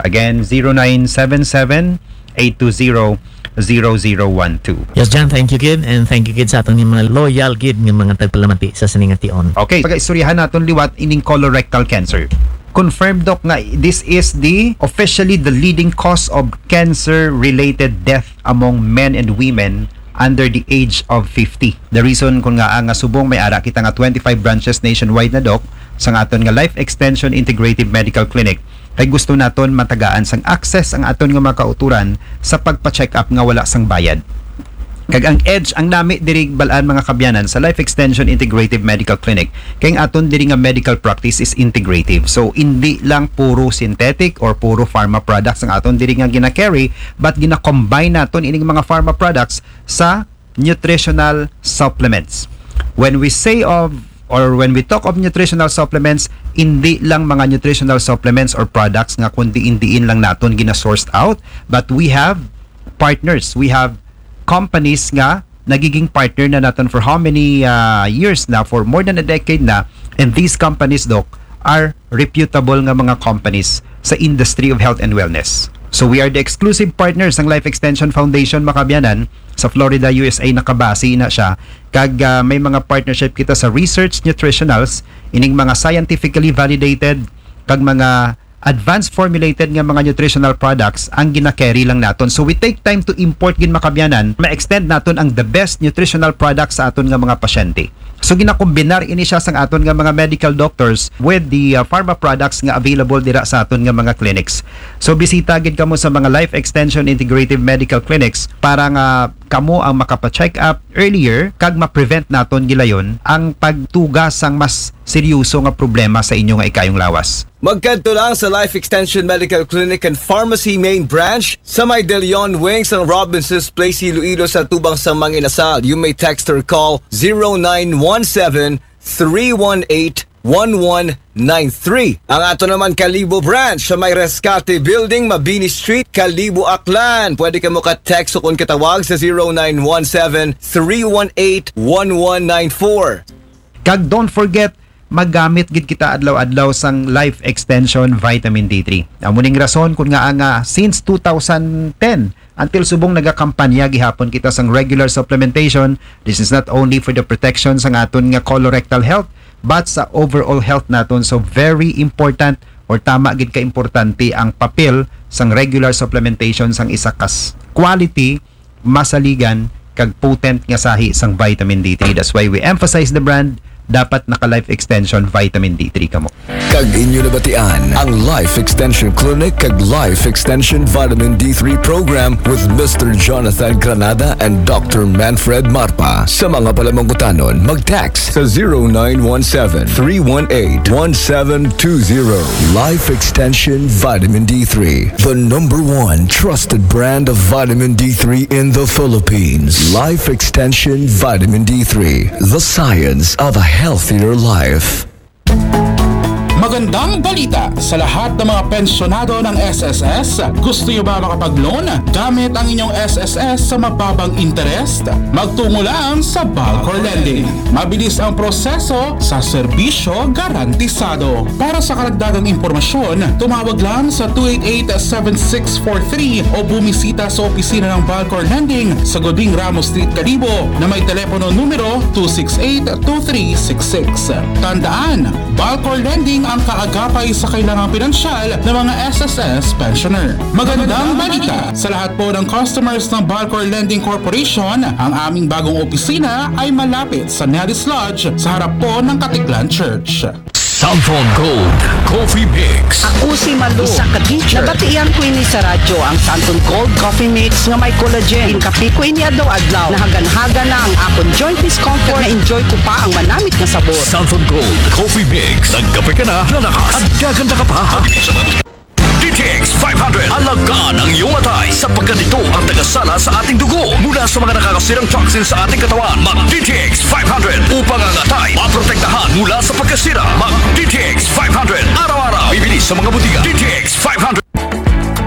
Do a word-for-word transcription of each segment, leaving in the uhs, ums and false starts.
Again, zero nine seven seven, eight two zero, zero zero one two. Yes, John, thank you gid, and thank you gid sa aton mga loyal gid nga mga tagpalamati sa sining ation. Okay, pagaistoryahan naton liwat ining colorectal cancer. Confirmed, Doc, nga this is the officially the leading cause of cancer-related death among men and women under the age of fifty. The reason kun nga nga subong may ara kita nga twenty-five branches nationwide na, Doc, sa nga aton nga Life Extension Integrative Medical Clinic, kay gusto naton matagaan sang access ang aton nga mga kauturan sa pagpa-check up nga wala sang bayad. Kag ang edge, ang nami diri bal-an, mga kaabyanan, sa Life Extension Integrative Medical Clinic, kay ang aton diri nga medical practice is integrative. So, hindi lang puro synthetic or puro pharma products ang aton diri nga gina-carry, but gina-combine naton ining mga pharma products sa nutritional supplements. When we say of or when we talk of nutritional supplements, hindi lang mga nutritional supplements or products nga kundi indiin lang naton gina-sourced out, but we have partners, we have companies nga nagiging partner na naton for how many uh, years na, for more than a decade na, and these companies, Doc, are reputable nga mga companies sa industry of health and wellness. So we are the exclusive partners ng Life Extension Foundation, mga kaabyanan, sa Florida, U S A nakabase na siya. Kag uh, may mga partnership kita sa research nutritionals, ining mga scientifically validated kag mga advanced formulated nga mga nutritional products ang gina-carry lang naton. So we take time to import gid, mga kaabyanan, ma-extend naton ang the best nutritional products sa aton nga mga pasyente. So ginakombinar ini siya sang aton nga mga medical doctors with the uh, pharma products nga available dira sa aton nga mga clinics. So bisita gid kamo sa mga Life Extension Integrative Medical Clinics para nga kamo ang makapa-check up earlier kag ma-prevent naton gilayon ang pagtuga sang mas seryoso nga problema sa inyo nga ikayong lawas. Magkadto lang sa Life Extension Medical Clinic and Pharmacy Main Branch sa may De Leon Wing sang Robinson's Place, Iloilo, sa tubang sang Mang Inasal. You may text or call zero nine one seven, three one eight, one one nine three. Ang ato naman Kalibo Branch sa may Rescate Building, Mabini Street, Kalibo, Aklan. Pwede kamo ka-text o kun katawag sa zero nine one seven, three one eight, one one nine four. Kag don't forget, magamit gid kita adlaw-adlaw sang Life Extension Vitamin D three. Amo ning rason kun nga nga since two thousand ten until subong nagakampanya gihapon kita sang regular supplementation. This is not only for the protection sang aton nga colorectal health, but sa overall health naton. So very important or tama gid ka importante ang papel sang regular supplementation sang isa kas quality, masaligan, kag potent nga sahi sang vitamin D three. That's why we emphasize the brand. Dapat naka Life Extension Vitamin D three kamo. Kag inyo nabatian ang Life Extension Clinic kag Life Extension Vitamin D three Program with Mister Jonathan Granada and Doctor Manfred Marpa. Sa mga palamangkutanon, mag-text sa zero nine one seven, three one eight, one seven two zero. Life Extension Vitamin D three, the number one trusted brand of vitamin D three in the Philippines. Life Extension Vitamin D three, the science of a healthier life. Magandang balita sa lahat ng mga pensyonado ng S S S. Gusto niyo ba makapag-loan gamit ang inyong S S S sa mababang interest? Magtungo lang sa Balcor Lending. Mabilis ang proseso sa serbisyo garantisado. Para sa karagdagang impormasyon, tumawag lang sa two eight eight, seven six four three o bumisita sa opisina ng Balcor Lending sa Goding Ramos Street, Kalibo, na may telepono numero two six eight, two three six six. Tandaan, Balcor Lending ang kaagapay sa kailangang pinansyal ng mga S S S pensioner. Magandang balita sa lahat po ng customers ng Balcor Lending Corporation. Ang aming bagong opisina ay malapit sa Nelly's Lodge sa harap po ng Katiklan Church. Santhon Gold Coffee Mix. Ako si Malu, isa ka teacher. Nabatian ko ini sa radyo, ang Santon Gold Coffee Mix nga may collagen. Ginkape ko ini adlaw-adlaw. Nahaganhagan na ang akon joint discomfort. Na-enjoy ko pa ang manamit nga sabor. Santhon Gold Coffee Mix. Nagkape ka na, lalakas, at gaganda ka pa. D T X five hundred, alagaan ang iyong atay sapagkat ito ang tagasala sa ating dugo mula sa mga nakakasirang toxin sa ating katawan. Mag D T X five hundred upang ang atay maprotektahan mula sa pagkasira. Mag D T X five hundred araw-araw. Bibili sa mga butika. D T X five hundred.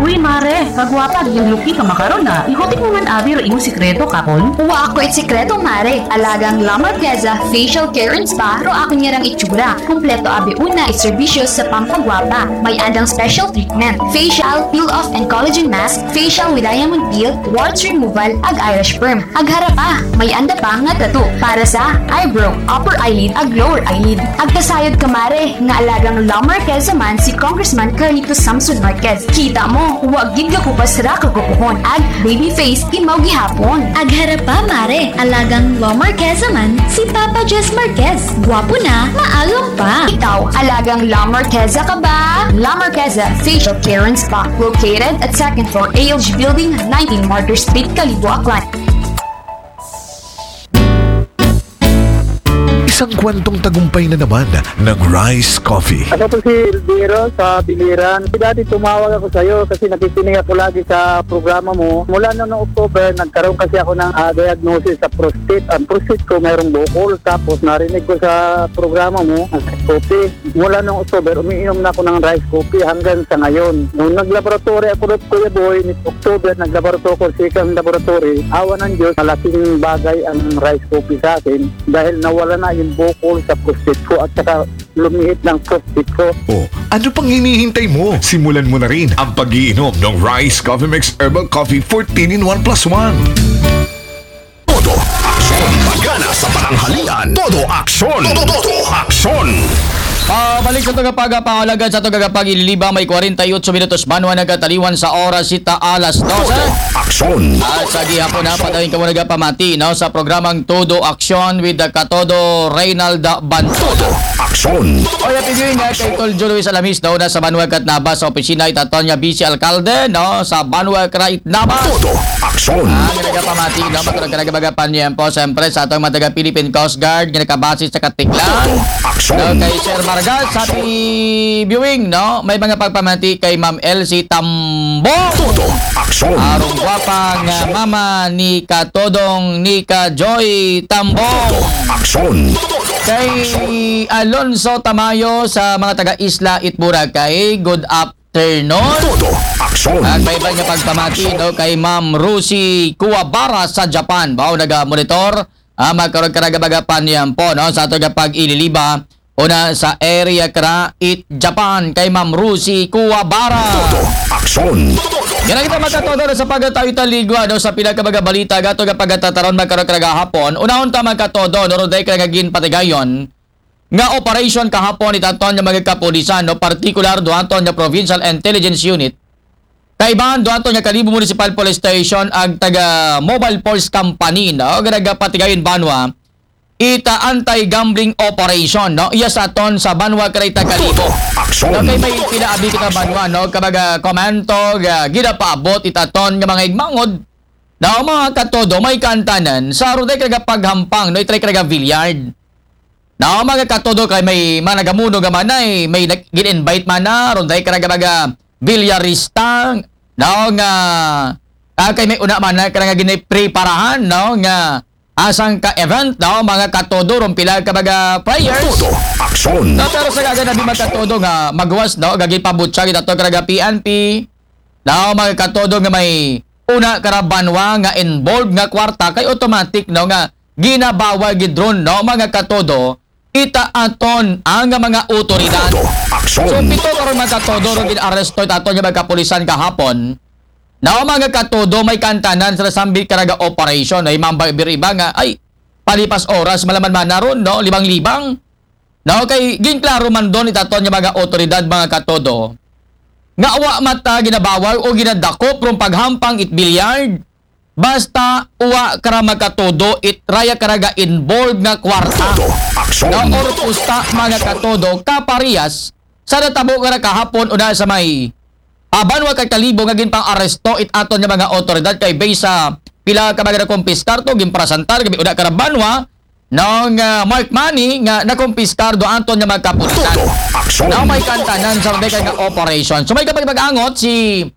Uy, Mare, Kagwapa, agin lucky ka makaron na. Ihutik mo man abi ro imong sikreto, kapon? Wa ako it sikreto, mare. Alagang La Marqueza Facial Care and Spa ro akon ngarang itsura. Kumpleto abi una it serbisyo sa pampagwapa. May andang special treatment: facial, peel off and collagen mask, facial with diamond peel, warts removal, ag eyelash perm. Ag harap pa, may anda pa nga tattoo para sa eyebrow, upper eyelid, ag lower eyelid. Ag kasayod ka, mare, nga alagang La Marqueza man si Congressman Carlito Samson Marquez. Kita mo, wa gid gakupas ra kagupuhon. Ag baby face, imaw gihapon. Ag harap pa, mare, alagang La Marqueza man si Papa Jess Marquez. Gwapo na, maagom pa. Ikaw, alagang La Marqueza ka ba? La Marqueza Facial Care and Spa, located at second floor A L G Building, nineteen Martyr Street, Kalibo, Aklan. Isang kwentong tagumpay na naman ng Rice Coffee. Ako po si Elviro sa Biliran. Dati tumawag ako sa'yo kasi nakikinig ako lagi sa programa mo. Mula noong October, nagkaroon kasi ako ng ah, diagnosis sa prostate. Ang prostate ko mayroong bukol. Tapos narinig ko sa programa mo, ang coffee. Mula noong October, umiinom na ako ng rice coffee hanggang sa ngayon. Nung naglaboratory ako doon, Kuya Boy, ni October, naglaboratory ako, second laboratory. Awa ng Diyos, malaking bagay ang rice coffee sa akin dahil nawala na yung bukol sa prostate ko at saka lumihit ng prostate ko. O, ano pang hinihintay mo? Simulan mo na rin ang pag-iinom ng Rice Coffee Mix Herbal Coffee fourteen in one plus one. Todo aksyon, pagana sa pananghalian. Todo aksyon, todo aksyon. Pabalik sa tagapagapangalagan sa tagapag-ililiba, may forty-eight minutos banwa nagkataliwan sa oras sita alas dose. Aksyon. At sa gihapon na patayin ka mo nagapamati no, sa programang Todo Aksyon with the Katodo Reynald Banto. Todo aksyon. O ya pigyo nga kay Tol Joe Luis Alamis daw na sa Banwa Katnaba sa opisina itaton niya Vice Alkalde no, sa Banwa Kraitnaba. Todo aksyon. Ang nagapamati no, magkaroon ka nagabagapan niya po siyempre sa atong mga taga Philippine Coast Guard nga nakabase sa Katiklan. Aksyon. No, kay Sir Vargas, happy viewing, no? May mga pagpamati kay Ma'am Elsie Tambo. Todo aksyon. Arong gwapang ah, mama ni Katodong ni Kajoy Tambo. Aksyon. Kay Alonso Tamayo sa mga taga Isla it Boracay, good afternoon. Todo aksyon. At may iba nga pagpamati no, kay Ma'am Rosie Kuwabara sa Japan. Bao naga-monitor. Ah, magkaroon ka nagabagapan niyan po no, sa ato nga pag-ililiba. Una sa area kra it Japan kay Ma'am Rosie Kuwabara. Todo aksyon. Yan ang kita magkatodo na sa pagkatayo taligwa no, sa pila ka mga balita gato nga pagkatataron magkaroon ka nagahapon. Unahon ta magkatodo no, ron dahil ka naging patigayon nga operation kahapon itaton nga mga kapulisan no, partikular duhaton nga Provincial Intelligence Unit. Kaibahan duhaton nga Kalibo Municipal Police Station ag taga Mobile Force Company no, nga nagapatigayon banwa ita anti-gambling operation no, iya sa aton sa banwa kray ta Kalibo. Aksyon. No, kay may pila abi kita banwa no, kabaga komento nga ginapaabot itaton nga mga igmangod. No, mga katodo, may kantanan sa ruday kagapaghampang no, itray kaga billiard. No, mga katodo, kay may managamuno nga manay, may nag- gin-invite man na, ruday karaga mga bilyarista. No, nga ah, kay may una man na karaga ginipreparahan no, nga asang ka event no, mga katodo, rumpila ka mga players. Todo aksyon. No, pero sa gaga nabi magkatodo nga magwas no, gagi pabutsag itato karaga P N P. No, mga katodo nga may una karabanwa nga involved nga kwarta kay automatic no nga ginabawal gid ron no, mga katodo, ita aton ang mga otoridad. Todo aksyon. So pito karon mga katodo ro gin-aresto itaton nga mga kapulisan kahapon. No, mga katodo, may kantanan sa sambit karaga operation no, imambay biriba nga ay palipas oras malaman man na ron no, libang-libang. No, kay ginklaro man don itaton nga mga otoridad, mga katodo, nga wa mata ginabawal o ginadakop rong paghampang it bilyard basta wa kara magkatodo it raya karaga involved nga kwarta. Todo aksyon. No, or pusta, mga katodo, kaparehas sa natabo nga kahapon una sa may Abanwa kay Kalibo nga ginpang-aresto it aton nga mga otoridad kay based sa pila ka mga nakumpiskar to, ginparasantar gabi una karabanwa no nga marked money nga nakumpiskar do aton nga mga kapulisan. Todo aksyon. Now may kantanan sa ruday kay nga operation. So may kapag mag-angot si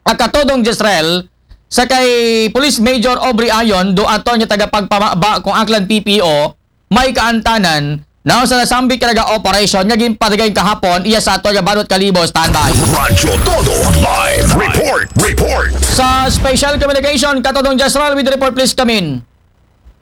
Akatodong Jezreel sa kay Police Major Aubrey Ayon do aton nga tagapagpamaba kung Aklan P P O may kaantanan now sa nasambit karaga operation nga ginpatigay kahapon iya sa aton nga Banwat Kalibo. Standby. Radyo Todo live report. Report. Special communication, Katodong Jasral with the report, please come in.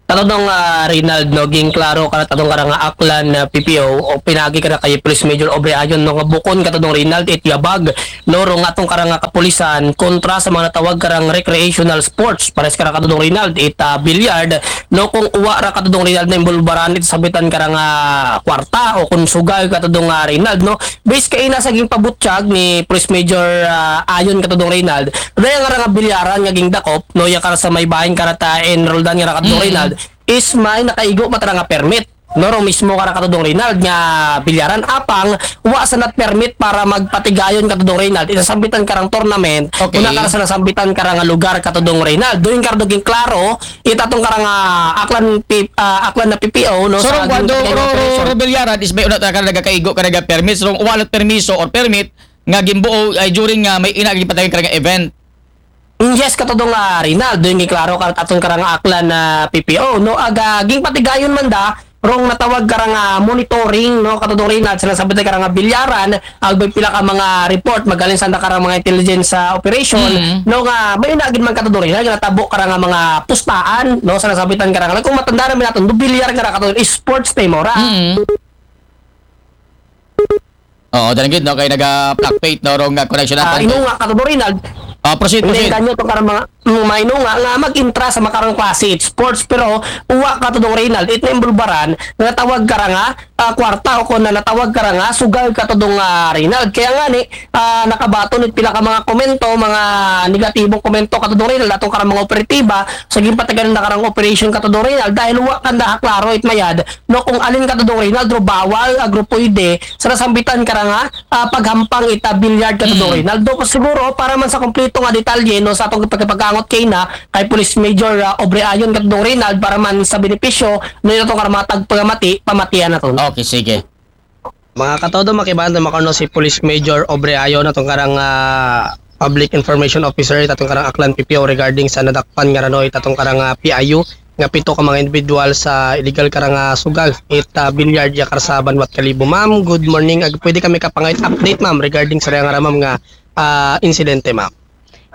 Katodong, ah, Reynald, no, ging klaro karat atong karang, ah, Aklan na P P O o pinagi karat kay Police Major Aubrey Ayon, no, nga bukon, Katodong Reynald, it yabag, no, rong atong karang, ah, kapulisan kontra sa mga natawag karang recreational sports. Pares karat, Katodong Reynald, it, ah, billiard, no, kung uwa ra, Katodong Reynald, na imbulbaran it sambitan karang, ah, kwarta o kung sugal, Katodong, ah, Reynald, no. Base kay na sa ging pabutyag ni Police Major, ah, Ayon, Katodong Reynald, daya nga ra nga bilyaran nga ging dakop, no, ya kara sa may bahin karat, ah, enrolled nga ra, Katodong, mm, Reynald, is may nakaigo man tara nga permit. No, rong mismo karat, Katodong Reynald, nga bilyaran, apang wa sa nat permit para magpatigayon, Katodong Reynald, it sambitan karang tournament, okay, una karat sa nasambitan karang lugar, Katodong Reynald. Doon karat ging klaro it atong karang, ah, Aklan P-, ah, Aklan na P P O, no, so, sa rong kuwan, rong, rong bilyaran is may una ta ka nagakaigo ka naga permit, so rong wallet permiso or permit nga gimbuo ay during nga may ina gipatay karang event. Mm, yes, Katodong, ah, Reynald, doon giklaro karat atong karang Aklan na P P O, no, aga ging patigayon man da rong natawag karang, ah, monitoring, no, Katodong Reynald, sa nasabot karang, ah, bilyaran, agbay pila ka mga report, magaling sa karang mga intelligence, ah, operation, mm, no, nga may ina gid man, Katodong Reynald, nga natabo karang, ah, mga pustaan, no, sa nasabitan karang, kung matanda na naton, do bilyar nga ra, Katodong, sports time ra. Mm. Oo, dali gid, no, kay naga-fluctuate, no, rong, ah, connection naton. Ah, inunga, Katodong Reynald. Ah, proceed, proceed. Inengan nyo itong karang mga, mm, mga inunga nga mag-intra sa makarang klase it sports, pero uwa, Katodong Reynald, it naimbulbaran, natawag karang, ah, ah, kwarta o kung na natawag karang, ah, sugal, Katodong, ah, Reynald. Kaya nga ni, ah, nakabaton it pila ka mga komento, mga negatibong komento, Katodong Reynald, atong karang mga operatiba, sa ginpatigayon na karang operation, Katodong Reynald, dahil uwa kanda klaro it mayad, no, kung alin, Katodong Reynald, ro bawal, agro pwede, sa nasambitan karang, ah, ah, paghampang it, ah, billiard, Katodong, mm, Reynald. Do, siguro, para man sa kompleto nga detalye, no, sa atong pagkapagangot kay na, kay Police Major, ah, Aubrey Ayon, Katodong Reynald, para man sa benepisyo, no, itong karang mga tagpagamati, pamatian naton. Okay, sige. Mga katodo, makibahan ta makaon si Police Major Aubrey Ayon, atong karang, ah, Public Information Officer, it atong karang Aklan P P O regarding sa nadakpan nga ranoy, it atong karang, ah, P I U, nga pito ka mga individual sa illegal karang, ah, sugal, it, ah, billiard ya kara sa Banwat Kalibo. Ma'am, good morning. Ag, pwede kami kapangayot update, ma'am, regarding sa raya nga ra, ma'am, nga, ah, insidente, ma'am?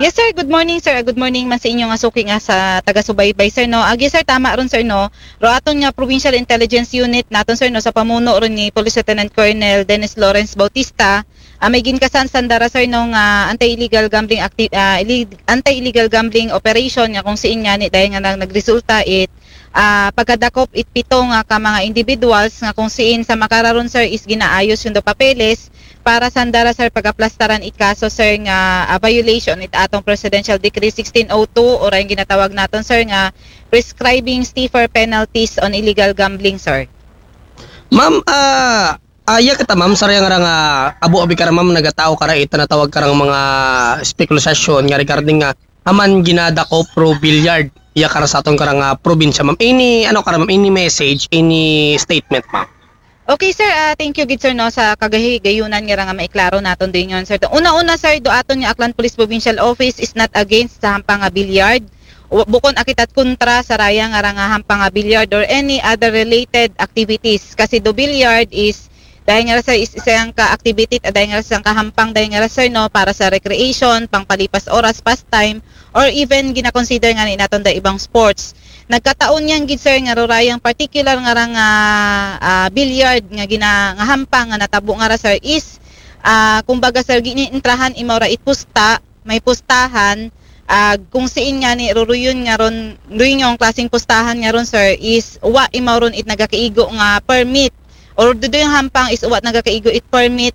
Yes, sir. Good morning, sir. Good morning man sa inyo nga suki nga sa taga-subaybay, sir, no? Agi, sir, tama ron, sir, no? Ro aton nga Provincial Intelligence Unit naton, sir, no, sa pamuno ron ni Police Lieutenant Colonel Dennis Lawrence Bautista, ah, may ginkasan sanda ra, sir, no, nga anti-illegal gambling acti-, ah, illeg-, anti-illegal gambling operation nga kung siin nga ni dahil nga nag-, nagresulta it, ah, pagkadakop it pito nga ka mga individuals nga kung siin sa makararon, sir, is ginaayos yung do papeles para sanda ra, sir, pagaplastaran it kaso, sir, nga, ah, violation it atong Presidential Decree sixteen oh two, o rin ginatawag naton, sir, nga prescribing stiffer penalties on illegal gambling, sir. Ma'am, ah, aya kita, ma'am, sa raya nga ra nga abo abi kara, ma'am, nagatao kara ita natawag karang mga spekulasyon nga regarding nga aman ginadakop ro billiard ya kara sa aton karang, ah, probinsya, ma'am. Any, ano kara, ma'am, any message, any statement, ma'am? Okay, sir. Ah, thank you gid, sir, no, sa kagahigayunan nga ra nga maiklaro naton din yon, sir. Una-una, sir, do aton nga Aklan Police Provincial Office is not against sa hampang nga billiard. W-, bukon akitat kontra sa raya nga ra nga hampang nga billiard or any other related activities. Kasi do billiard is, dahil nga ra, sir, is isang ka activity, ah, dahil nga ra isang ka hampang, dahil nga ra, sir, no, para sa recreation, pangpalipas oras, pastime, or even gina-consider nga ni naton da ibang sports. Nagkataon yan gid, sir, nga rurayang particular nga ra nga, ah, billiard nga gina-, nga hampang nga natabo nga ra, sir, is, ah, kumbaga, sir, giniintrahan imaw ra it pusta, may pustahan, ah, kung siin nga ni ruruyon nga ron, ruyon yung klaseng pustahan nga ron, sir, is wa imaw ron it nagakaigo nga permit, or dudu yung hampang is wa nagakaigo it permit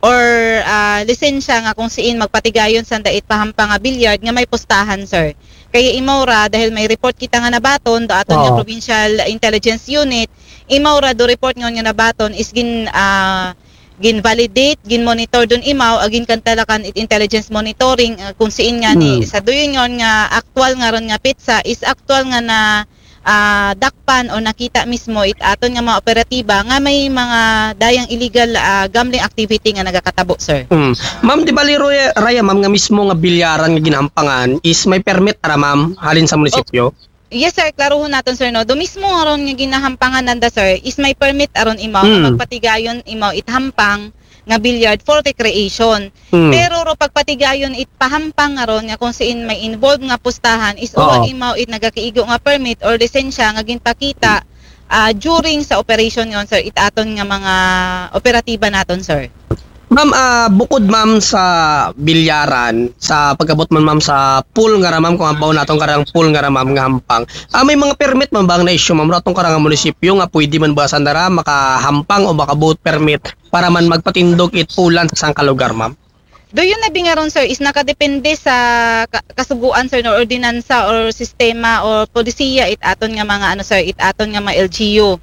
or, ah, lisensya nga kung siin magpatigayon sanda it pahampang nga billiard nga may pustahan, sir. Kaya imaw ra, dahil may report kita nga nabaton do aton nga, oo, Provincial Intelligence Unit, imaw ra do report nga, nga nabaton is gin, ah, gin-validate, gin-monitor dun imaw, agin kantalakan it intelligence monitoring, ah, kung siin nga ni, hmm, sa duyon yon nga aktual nga ron nga petsa is aktual nga na, ah, dakpan o nakita mismo it aton nga mga operatiba nga may mga dayang illegal, ah, gambling activity nga nagakatabo, sir. Hmm. Ma'am, di bali, Roya-, Raya, ma'am, nga mismo nga bilyaran nga ginahampangan is may permit ra, ma'am, halin sa munisipyo? Yes, sir. Klaruhon naton, sir, no? Do mismo nga ron nga ginahampangan nanda, sir, is may permit aron imaw nga, hmm, magpatigayon imaw it hampang nga billiard for recreation. Hmm. Pero ro pagpatigayon it pahampang nga ron nga kung siin may involved nga pustahan is uwa Oo. imaw it nagakiigo nga permit or lisensya nga ginpakita ah, during sa operation yon, sir, it aton nga mga operatiba naton, sir. Ma'am, ah, bukod ma'am sa bilyaran, sa pagabot man ma'am sa pool nga ra ma'am, kung halimbawa naton karang pool nga ra ma'am nga hampang, ah, may mga permit man ba ang na-issue ma'am, ratong karang munisipyo nga pwede man ba sanda ra makahampang o makabuot permit para man magpatindog it poolan sa sangka lugar ma'am? Do yun na bingaron, sir, is nakadepende sa ka- kasuguan, sir, no, ordinansa or sistema or polisiya it aton nga mga ano, sir, it aton nga mga L G U.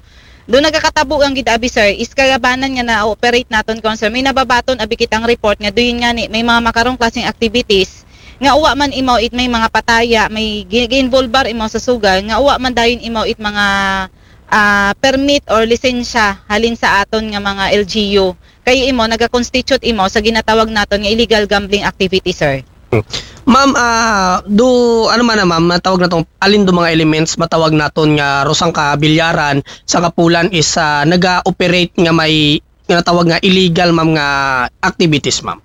Do nagakatabo ang gid abi, sir, is kalabanan nga na-operate naton kon, sir, may nababaton abi kitang report nga do yun nga ni may mga makarong klaseng activities nga uwa man imaw it may mga pataya, may gi- gi-involbar imaw sa sugal, nga uwa man dayon imaw it mga ah, permit or lisensya halin sa aton nga mga L G U. Kay imo nagaconstitute imo sa ginatawag naton nga illegal gambling activity, sir. Ma'am, ah, do ano man na ma'am, matawag naton alin do mga elements matawag naton nga rosang ka bilyaran sa kapulan is ah, naga-operate nga may nga natawag nga illegal ma'am nga activities ma'am?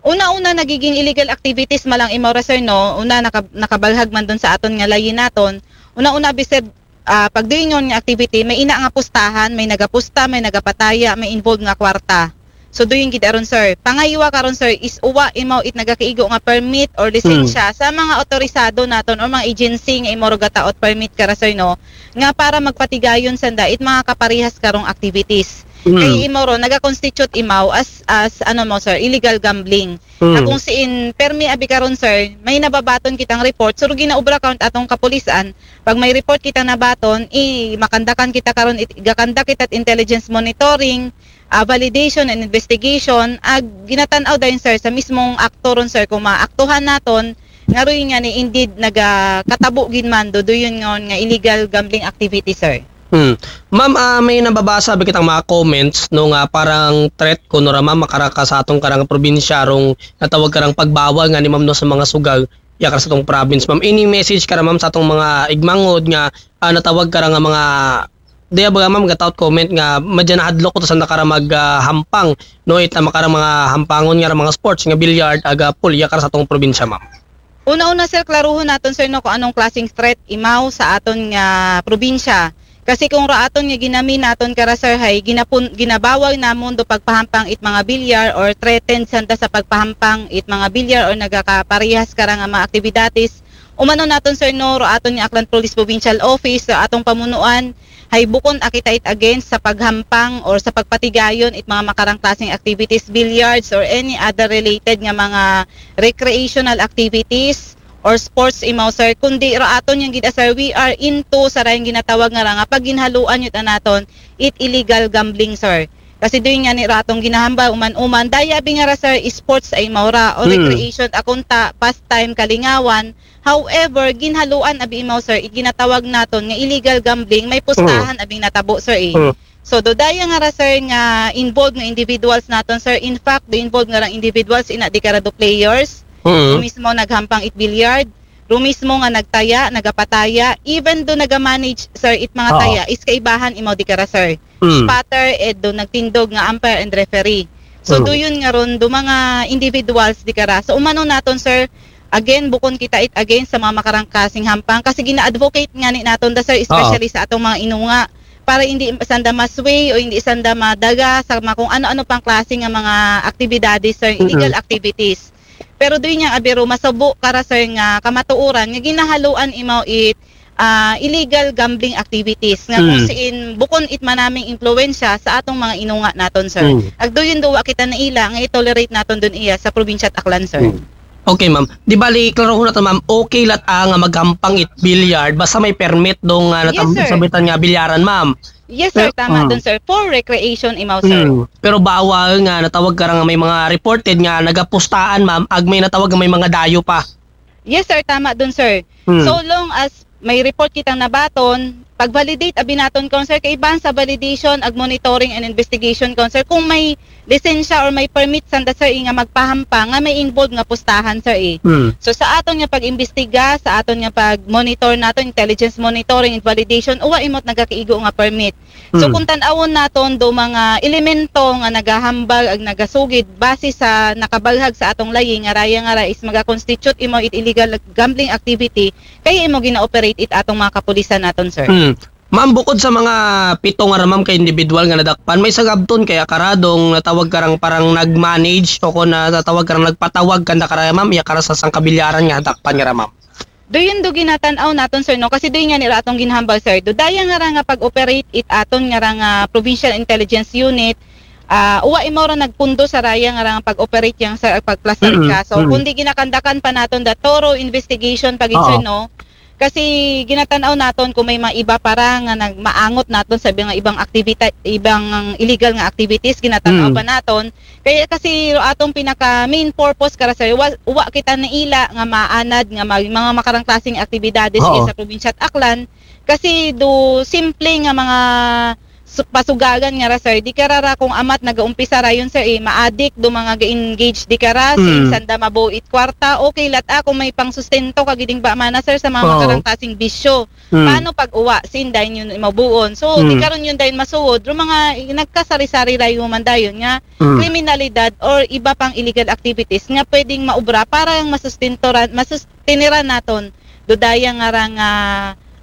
Una-una nagiging illegal activities malang imaw ra, sir, no. Una naka, nakabalhag man dun sa aton nga layi naton. Una-una abi, sir, ah, pagduingon nga activity, may ina nga pustahan, may nagapusta, may nagapataya, may involved nga kwarta. So duyon gid aron, sir. Pangaywa karon, sir, is uwa imaw it nagakiigo nga permit or lisensya sa mga otorisado naton or mga agency nga imo ro gataot permit kara, sir, no, nga para magpatigayon sanda it mga kaparehas karong activities. Mm. Kay imo ro nagaconstitute imaw as as ano mo, sir, illegal gambling. Mm. Akong siin permi abi karon, sir, may nababaton kitang report, sir, ginaobra karon atong kapulisan. Pag may report kita nabaton, i makandakan kita karon, it- gakandak kita intelligence monitoring, ah, validation and investigation, ag ginatan-aw dayon, sir, sa mismong akto ron, sir, kung maaktuhan naton nga ruy nga ni indeed nagakatabo gid man do duyon ngon nga illegal gambling activity, sir. Hmm. Ma'am, ah, may nababasa ba kitang mga comments no nga parang threat kuno ra ma'am makaraka sa atong karang probinsya rong natawag karang pagbawal nga ni ma'am no sa mga sugal ya kara sa atong province ma'am. Any message kara ma'am sa atong mga igmangod nga ah, natawag kara nga mga diya ba ma'am gataot comment nga madya nahadlok ko to sa nakara mag ah, hampang no ita makara mga hampangon nga ra mga sports nga billiard aga pool ya kara sa atong probinsya ma'am. Una-una, sir, klaruhon naton, sir, no, kung anong klaseng threat imaw sa aton nga probinsya. Kasi kung ra aton nga ginami naton kara, sir, hay ginapun, ginabawal namon do pagpahampang it mga bilyar or threatened sanda sa pagpahampang it mga bilyar or nagakaparehas kara nga mga aktibidades, umano naton, sir, no, ra aton nga Aklan Police Provincial Office, ra atong pamunuan, hay bukon akita it against sa paghampang or sa pagpatigayon it mga makarang klaseng activities, billiards or any other related nga mga recreational activities or sports imaw, sir, kundi ra aton yang gid, sir, we are into sa rayong ginatawag nga ra nga pagginhaluan yun naton it illegal gambling, sir. Kasi doon nga ni ra atong ginahambal uman-uman daya bi nga ra, sir, sports ay maura o Hmm. recreation akunta pastime kalingawan. However, ginhaluan abi imaw, sir, it ginatawag naton nga illegal gambling, may pustahan abing natabo, sir, eh. Hmm. So do daya nga ra, sir, nga involved nga individuals naton, sir. In fact, do involved nga rang individuals ina di kara do players. Mm. Do mismo naghampang it billiard. Do mismo nga nagtaya, nagapataya, even do nagamanage, sir, it mga Oo. taya is kaibahan imaw di kara, sir. Mm. Spotter, ed do nagtindog nga umpire and referee. So Mm. do yun nga ron do mga individuals di kara. So umano naton, sir, again, bukon kita it against sa mga makarang klaseng hampang kasi gina-advocate nga ni naton da, sir, especially sa atong mga inunga para hindi sanda ma-sway o hindi sanda madaga sa mga kung ano-ano pang klase nga mga aktibidades, sir, illegal Mm-mm. activities. Pero doon niyang abiro masabo kara, sir, nga kamatuoran nga ginahaluan imaw it ah, illegal gambling activities nga kung Mm. siin bukon it manaming impluwensya sa atong mga inunga naton, sir. Mm. Agdo yun duwa kita naila nga i-tolerate naton dun iya sa probinsya at Aklan, sir. Mm. Okay, ma'am. Di bali, klaro na to, ma'am. Okay lat ah, nga maghampang it billiard basta may permit dong nga Yes, sir. sabitan nga bilyaran, ma'am. Yes, sir. Pero- Tama mm. dun, sir. For recreation imaw, sir. Mm. Pero bawal nga natawag ka nga may mga reported nga nagapustaan, ma'am, ag may natawag nga may mga dayo pa. Yes, sir. Tama dun, sir. Mm. So long as may report kitang nabaton, pag-validate abi naton kon, sir, kaibahan sa validation ag monitoring and investigation kon, sir, kung may lisensya or may permit sanda, sir, eh, nga magpahampa nga may involved nga pustahan, sir, eh. Hmm. So sa aton nga pag-imbestiga, sa aton nga pag-monitor naton, intelligence monitoring and validation, uwa imo't nagakaigo nga permit. So Hmm. kung tan-awon naton do mga elemento nga nagahambal ag nagasugid base sa nakabalhag sa atong layi nga raya nga ra is magakonstitute imo it illegal gambling activity, kaya imo gina-operate it atong mga kapulisan naton, sir. Hmm. Ma'am, bukod sa mga pito nga ra, ma'am, ka individual nga nadakpan, may sagabton kaya kara dong natawag karang parang nag-manage o kon natawag karang nagpatawag kanda karaya, ma'am, iya kara sa sangkabilyaran nga nadakpan nga ra, ma'am. Do yun do ginatan-aw naton, sir, no? Kasi do yun nga nira atong ginhambal, sir. Do daya nga ra nga pag-operate it aton nga ra nga provincial intelligence unit, ah, uwa imo ra nagpundo sa raya nga ra nga pag-operate yang, sir, ag pagplastar Mm-mm. kaso. Mm. Kundi ginakandakan pa naton the thorough investigation pag, sir, Oo. no? Kasi ginatan-aw naton kung may mga iba para nga nagmaangot naton sa mga ibang aktivita-, ibang illegal nga activities, ginatan-aw Mm. pa naton. Kaya kasi ro atong pinaka main purpose kara, sir, wa, wa kita naila nga maanad nga mag, mga makarang klaseng aktibidades Oo. sa probinsya at Aklan. Kasi do simple nga mga su-, pasugagan nga ra, sir, di kara ra kung amat nagaumpisa rayon, sir, eh, maadik do mga ga-engage di kara, Mm. sanda mabuo it kwarta, okay lat, ah, kung may pangsustento kagiding ba mana, sir, sa mga Oo. makarang klaseng bisyo. Hmm. Paano pag uwa? Sin dayon yun mabuon. So, Hmm. di karon yun dayon masuod. Ro mga nagkasari-sari rayo man dayon nga Hmm. kriminalidad or iba pang illegal activities nga pwedeng maubra para ang masustentoran, masustiniran naton dodaya nga ra nga,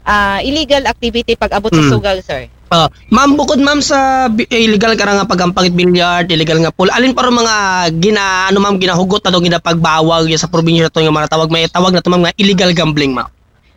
ah, illegal activity pag abot sa Hmm. sugal, sir. Ah, ma'am, bukod, ma'am, sa bi-, illegal kara nga pagampangit billiard, illegal nga pool, alin pa ro mga gina-, ano, ma'am, ginahugot na do ginapagbawal ya sa probinsya naton nga mga tawag, may tawag nato, ma'am, nga illegal gambling, ma'am?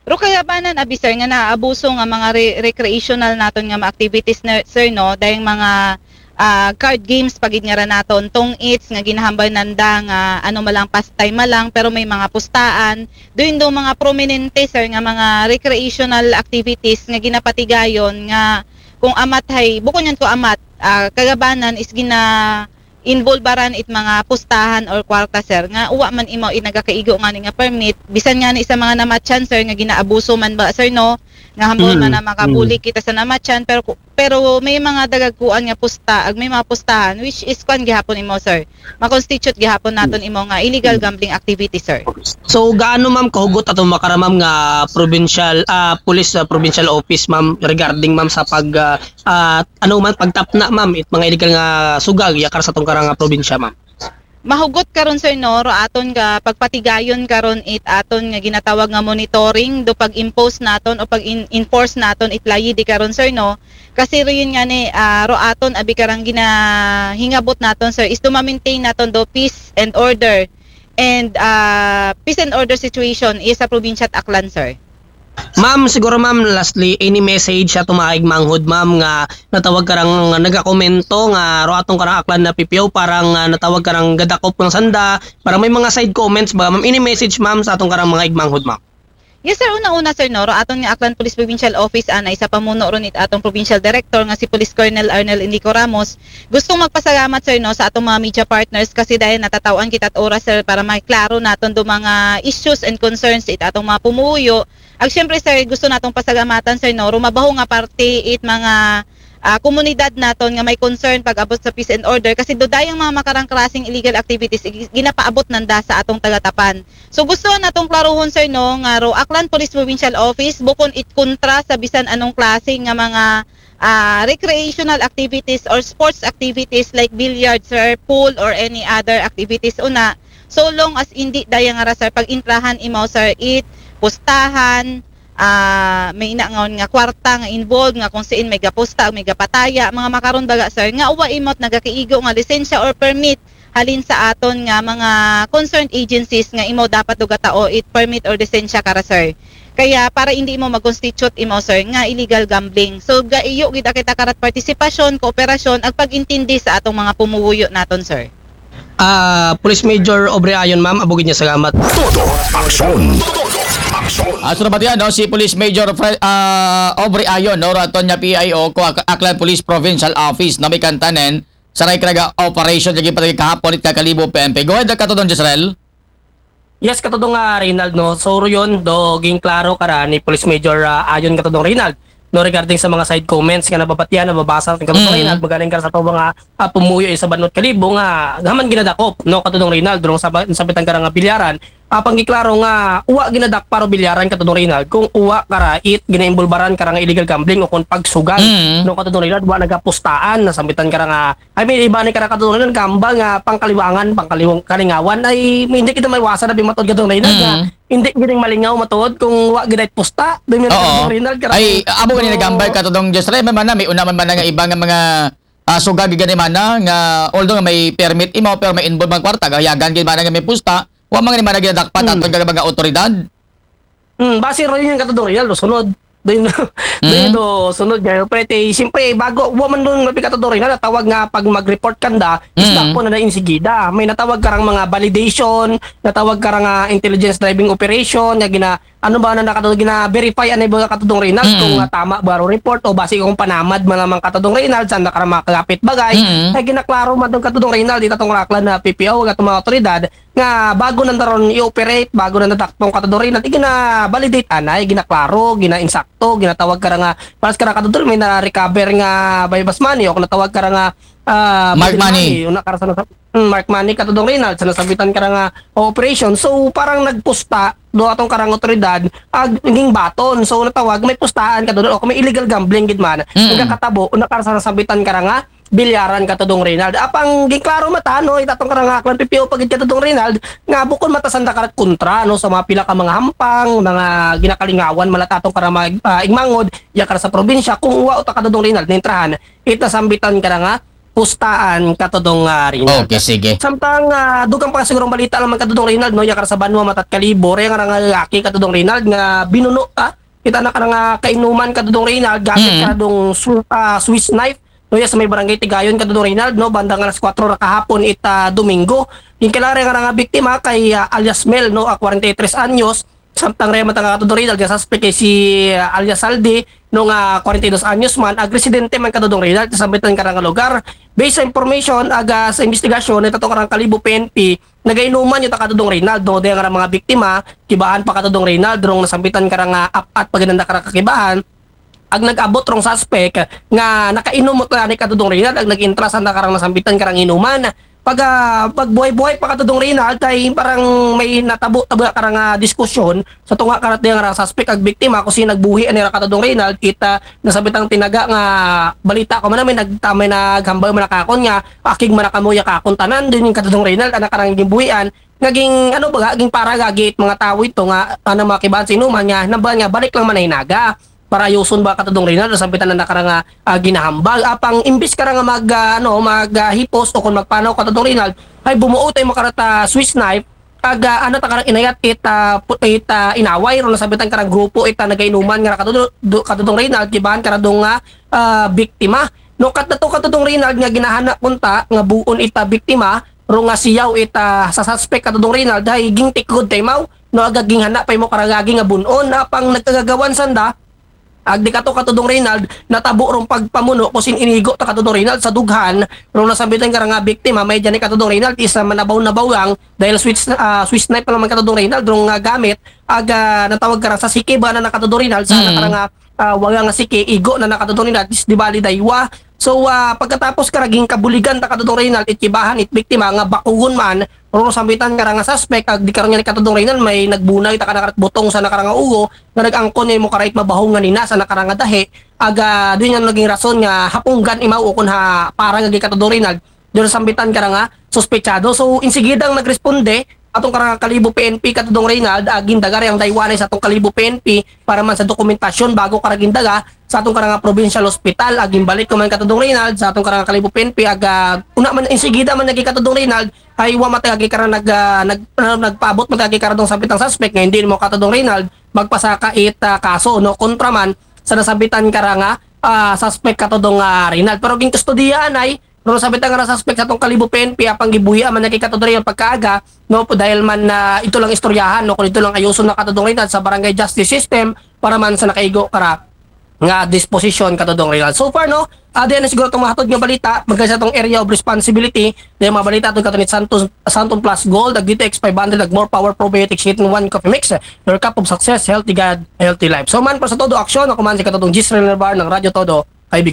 Ro kagabanan abi, sir, nga naabuso nga mga re-, recreational naton nga mga activities, na, sir, no, dayang mga, ah, card games pagid nga ra naton, tong its nga ginahambal nanda nga ano malang pastime malang, pero may mga pustaan. Doon do mga prominente, sir, nga mga recreational activities nga ginapatigayon nga kung amat hay, bukon yan ko amat, ah, kagabanan is gina involvaran it mga pustahan or kwarta, sir, nga uwa man imo it nagakaigo nga ni nga permit, bisan nga ni sa mga namatyan, sir, nga ginaabuso man ba, sir, no, nga hambol Mm. man na makabulig kita sa namatyan, pero ku-, pero may mga dagagkuan nga pusta, ag may mga pustahan, which is kwan gihapon imo, sir, makonstitute gihapon naton imo nga illegal gambling activity, sir. So, gaano, ma'am, kahugot ato makara, ma'am, nga provincial, ah, police, ah, provincial office, ma'am, regarding, ma'am, sa pag, ah, ah, ano man, pagtapna, ma'am, it mga illegal nga sugag ya kara sa atong kara nga probinsya, ma'am? Mahugot karon, sir, no, ro aton nga pagpatigayon karon it aton nga ginatawag nga monitoring do pag-impose naton o pag-enforce naton it layi di karon, sir, no. Kasi ro yun nga ni, ah, ro aton abi karang ginahingabot naton, sir, is to ma-maintain naton do peace and order and, ah, peace and order situation is sa probinsya at Aklan, sir. Ma'am, siguro, ma'am, lastly, any message sa atong mga higmanghod, ma'am, nga natawag karang, nga nagakomento nga ro atong karang Aklan na P P O, parang, ah, natawag karang gadakop ng sanda, parang may mga side comments ba, ma'am? Any message, ma'am, sa atong karang mga higmanghod, ma'am? Yes, sir. Una-una, sir, no, ro aton nga Aklan Police Provincial Office anay sa pamuno ron it atong provincial director nga si Police Colonel Arnel Indico Ramos. Gustong magpasalamat, sir, no, sa atong mga media partners kasi dahil natatawan kita at oras, sir, para maklaro naton do mga issues and concerns it atong mga pumuyo. Ag syempre, sir, gusto natong pasalamatan, sir, no, rumabaho nga parte it mga, ah, komunidad naton nga may concern pag-abot sa peace and order kasi dodayang mga makarang klaseng illegal activities ig-, ginapaabot nanda sa atong tagatapan. So gusto natong klaruhon, sir, no, nga ro Aklan Police Provincial Office bukon it kontra sa bisan anong klase nga mga, ah, recreational activities or sports activities like billiard, sir, pool or any other activities una, so long as indi daya nga ra, sir, pag-intrahan imo, sir, it pustahan, ah, may ina nga, nga kwarta nga involved nga kung siin may gapusta o may gapataya, mga makaron baga, sir, nga uwa imo't nagakaigo nga lisensya or permit halin sa aton nga mga concerned agencies nga imo dapat do gatao it permit or lisensya kara, sir. Kaya para hindi imo mag-constitute imo, sir, nga illegal gambling. So gaiyo gid kita karat partisipasyon, kooperasyon ag pag-intindi sa atong mga pumuyo naton, sir. Ah, Police Major Aubrey Ayon, ma'am, abugid nga salamat. Todo aksyon. Astro Batian, no, si Police Major Fre- ah, Aubrey Ayon, no, raton niya P I O ko Ak- Aklan Police Provincial Office na may kantanen sa Raycraga Operation, lagi pa kahapon it kakalibo P N P. Go ahead, Katudong Jezreel. Yes, Katudong, ah, Reynald, no. So, yun, do ging klaro kara ni Police Major, ah, Ayon, Katudong Reynald. no, regarding sa mga side comments nga nababatian, nababasa, Katudong Mm. Reynald, magaling ka sa tao nga ah, pumuyo sa Banwa Kalibo nga gaman ginadakop, no, Katudong Reynald, durong sa, sambitan ka nga bilyaran. Apang giklaro nga uwa ginadakpa ro bilyaran, Katudong Reynald, kung uwa kara it ginaimbulbaran kara nga illegal gambling o kung pagsugal, Mm. no, Katudong Reynald, wa nagapustaan na sambitan kara nga, I mean, iba ni kara, Katudong Reynald, gamba nga pangkaliwangan, pangkaliwang kalingawan ay hindi kita may wasa na bimatod, Katudong Reynald, nga Mm. hindi gining malingaw matod kung wa gid pusta. Dun nga, Oo. Katudong Reynald, kara Ay, amo gani So, nagambal, Katudong Josre, may mana, may una man mana nga iba nga mga ah, sugag gani mana nga although nga may permit imo pero may involve man kwarta, gayagan gid mana nga may pusta, wa man gani mana ginadakpan Mm. aton nga mga otoridad. Hmm, base ro yun, Katudong Reynald, no, sunod. Doon, doon Mm. do sunod nga, pero te, siyempre, bago, wa man doon mabi, Katudong Reynald, tawag nga pag mag-report kanda, is Mm. dakpo na na insigida. May natawag karang mga validation, natawag karang ah, intelligence driving operation, nga gina, ano ba na nakatudong, gina-verify, ano ba, Katudong Reynald, Mm. kung ah, tama ba ro report, o base kung panamad man lamang, Katudong Reynald, saan na karang mga kagapit bagay, Mm. ay ginaklaro man doon, Katudong Reynald, dito tong raklan na P P O, at mga otoridad, nga bago nanda ron i-operate, bago nanda dakpong, Katudong Reynald, igina-validate anay, ginaklaro, gina-insakto, ginatawag kara nga, paras kara, Katudong, may na-recover nga buy-bust money, o kung natawag kara nga ah, Mark bail money. Una kara sa nasa-, mm, mark money, Katudong Reynald, sa nasabitan kara nga operation. So, parang nagpusta do atong karang otoridad, ag, naging baton. So, natawag, may pustaan, Katudong, o kung may illegal gambling gid man, Mm. nagkakatabo, una kara sa nasabitan kara nga bilyaran, Katudong Reynald. Apang giklaro mata, no, itatong karang aklan P P O pagid, Katudong Reynald, nga bukod mata sanda karat kontra, no, sa mga pila ka mga hampang, mga ginakalingawan, malatatong karang mga ah, igmangod, yakar sa probinsya, kung uwa uta, Katudong Reynald, nintrahan, ita sambitan kara nga pustaan, Katudong ah, Reynald. Okay, sige. Samtang ah, dugang pa sigurong balita lamang, Katudong Reynald, no, yakar sa banwa matat Kalibo, ray nga nga aki, Katudong Reynald, nga binuno, ah, kita na karang ah, kainuman, Katudong Reynald, gamit Mm. karadong su- ah, Swiss knife, no, ya sa may barangay Tigayon, Katudong Reynald, no, bandang alas kwatro ra kahapon ita Domingo. Yung kilala nga nga biktima kay ah, alias Mel, no, ah, kwarenta y tres anyos, samtang ray matang, Katudong Reynald, nga suspect kay si ah, alias Saldi, no, nga kwarenta y dos anyos man, ag residente man, Katudong Reynald, sa sambitan karang lugar. Based sa information, aga sa investigasyon, ito karang Kalibo P N P, nagainuman yung, Katudong Reynald, no, dahil nga mga biktima, kibahan pa, Katudong Reynald, rong nasambitan karang ah, apat pag nanda karang kakibahan, ag nag-abot rong suspect nga nakainom mo to, ani, Katudong Reynald, ag nag-intra sa nakarang nasambitan karang inuman. Pag ah, pagbuhay-buhay pa, Katudong Reynald, ay parang may natabo-tabo karang ah, diskusyon sa tunga karat diyang rang suspect ag biktima kung sino nagbuhi ani ra, Katudong Reynald, kita nasabitang tinaga nga balita ko man, may nagtamay naghambal man nakakon nga akig man nakamuya kakon tanan din yung, Katudong Reynald, anak karang gimbuhian, naging ano ba, naging para gagit mga tao ito nga ano, mga kibahan sa inuman nga namba nga balik lang man ay naga para ayuson ba, Katudong Reynald, sa sambitan na nakara nga ah, ginahambal. Apang imbis kara nga mag ah, ano, mag ah, hipos o kung magpanaw, Katudong Reynald, ay bumuo tayo makarata Swiss knife, ag ah, ano ta karang inayat it ah, pu- it ah, inaway ro nasambitan karang grupo ita nagainuman nga, Katudong, do- Katudong Reynald, kibahan karadong nga ah, biktima. No, kat na to, Katudong Reynald, nga ginahana kunta nga buon ita biktima, ro nga siyaw ita sa suspect, Katudong Reynald, hay gingtikod tay maw, no, aga ginghana pay mo karagagi nga bunon, apang nagkagagawan sanda, ag di kato, Katudong Reynald, natabo rong pagpamuno ko sin inigo ta, Katudong Reynald, sa dughan, rong nasambitan kara nga biktima, may dyan ni, Katudong Reynald, isa manabaw-nabaw lang, dahil Swiss, ah, Swiss knife pa naman, Katudong Reynald, rong nga gamit, aga natawag kara sa siki ba na, Katudong Reynald, sa Mm. nakara nga ah, waga nga siki, igo na, Katudong Reynald, is di bali daywa. So ah, pagkatapos kara gingkabuligan ta, Katudong Reynald, it kibahan it biktima nga bakugon man, rong sambitan kara nga suspect, ag di karon nga ni, Katudong Reynald, may nagbunay ta kara karat butong sa nakara nga ugo nga nag-angkon ni mo karait mabahong nga nina sa nakara nga dahi, aga doon nga naging rason nga hapunggan imaw o kun ha para nga gi, Katudong Reynald, doon sambitan kara nga suspetsado. So insigidang nagresponde atong karang Kalibo P N P, Katudong Reynald, aging daga rin ang daywanay sa atong Kalibo P N P para man sa dokumentasyon bago kara gindaga sa atong karang provincial hospital. Aging balik ko man, Katudong Reynald, sa atong karang Kalibo P N P, aga una man insigida man naging, Katudong Reynald, ay wa matay agi karang nag, ah, nag, ah, nagpaabot matay agi karang dong sabit ang suspect nga hindi mo, Katudong Reynald, magpasaka it ah, kaso, no, kontra man sa nasabitan karang ah, suspect, Katudong ah, Reynald. Pero ging kustodiya anay, no, sabit ang suspect sa atong Kalibo P N P, apang gibuhi man na kay, Katudong Reynald, pagkaaga, no, po, dahil man na ito lang istoryahan, no, kung ito lang ayuson na, Katudong Reynald, sa barangay justice system para man sa nakaigo kara nga disposition katong Rinald. So far, no, ah, diyan na siguro itong mahatod nga balita, magkano sa itong area of responsibility, diyan mga balita itong katong Santos, Santon Plus Gold, ag D T X five hundred, ag More Power Probiotics Hit in One Coffee Mix, your cup of success, healthy God, healthy life. So man, para sa todo aksyon, ako man si katong Gisrel Nerbar ng Radyo Todo,